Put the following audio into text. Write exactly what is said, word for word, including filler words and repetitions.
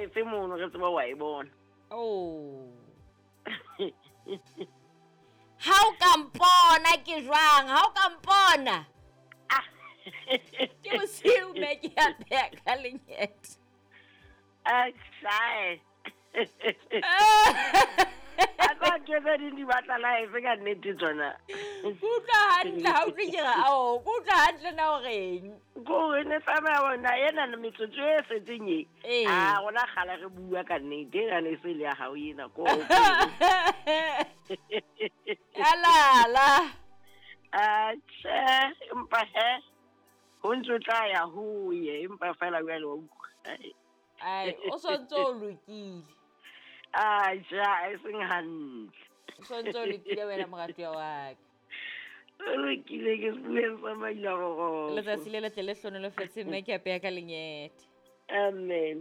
life mono re tseba wa e bona. Oh. Ha o ka mpona ke jwang? Ha o ka mpona? Ke bosiu mme ke a pheha ka lenyete. Atjhae. A tla ntho tse ding di batla life ka nnete tsona. Ke utlwa hantle ha utlwe ke re ao, ke utlwa hantle na o reng? Ko re ne tsamaya bona ena le metsotso e setseng e. Ee. Ah, rona kgale re bua ka nnete, ena ne se le ya hao ena ko. Alala. Atjhe, empa he ho ntso tla ya ho ye, empa fela jwale wa utlwa. Ai, o sontso o lokile. Atjhe, e seng hantle. O sontso o lokile wena moratuwa wa ka. O lokile ke sebueng sa maila roroko. Letsatsi le letle le hlonolofetse mme ke apeya ka lenyete. Amen.